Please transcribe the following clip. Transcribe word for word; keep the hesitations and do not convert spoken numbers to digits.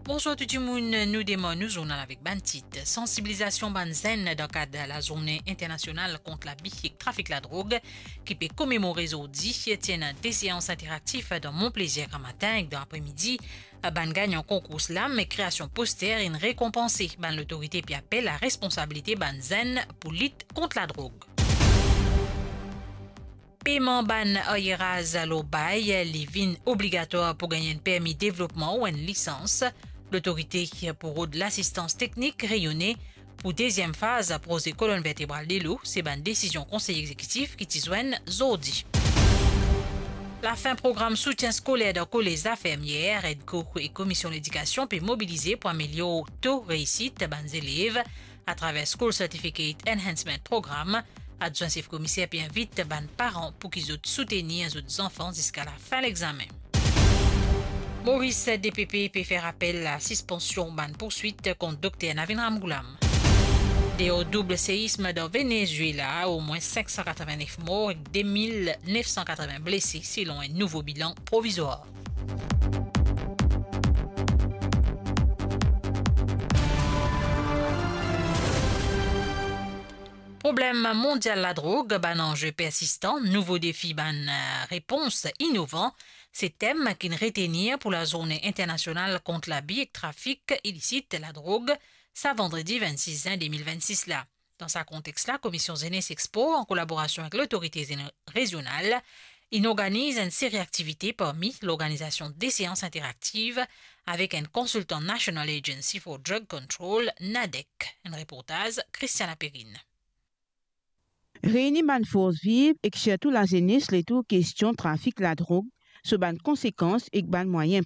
Bonswar tou dimoun, nou demar nou zournal avek bann tit. Sansibilizasion bann zenn dan kad lazourne internasional kont labi ek trafik ladrog, ki pe komemore zordi, ti ena de seans interaktif dan Mont Plaisir gramatin ek dan apremidi, bann gagnan konkour slam ek kreasion poster inn rekonpanse. Bann lotorite pe apel laresponsabilite bann zenn pou lit kont ladrog. Peyman bann aryeraz lor bay, li vinn obligatwar pou gagn enn permi devlopman ou enn lisans. Lotorite pou rod lasistans teknik reyone pou deziem faz proze kolonn vertebral delo, se bann desizion Konsey Egzekitif ki ti zwenn zordi. Lafin program soutien skoler dan kolez Lafermiere, EDCO e Komisyon Ledikasion pe mobilize pou amelior to reisit bann zelev atraver School Certificate Enhancement Program. Adwin sef komiser pe invit bann paran pou ki zot soutenir zot zanfan ziska lafin lexame. Moris, D P P pe fer apel a sispansion bann pourswit kont Dokter Navin Ramgoolam. Deor doub seism dan Venezuela, omwin sink san katreven-nef mor ek de mil nef san katreven blese, selon enn nouvo bilan provizwar. Problem mondial ladrog, bann anze persistan, nouvo defi, bann, eh, repons inovan, se tem ki'nn retenir pou lazourne internasional kont labi ek trafik ilisit ladrog, sa vandredi vennsis zin de mil vennsis la. Dan sa kontex la, Komisyon Zenes ek Spor, an kolaborasion ek lotorite zene-, rezional, inn organiz enn seri aktivite parmi lorganizasion de seans interaktiv avek enn konsiltan National Agency for Drug Control, NADEC. Enn reportaz Christiana Perrine. Reini bann fors viv ek sirtou lazenes letour kestion trafik ladrog, so bann konsekans ek bann mwayin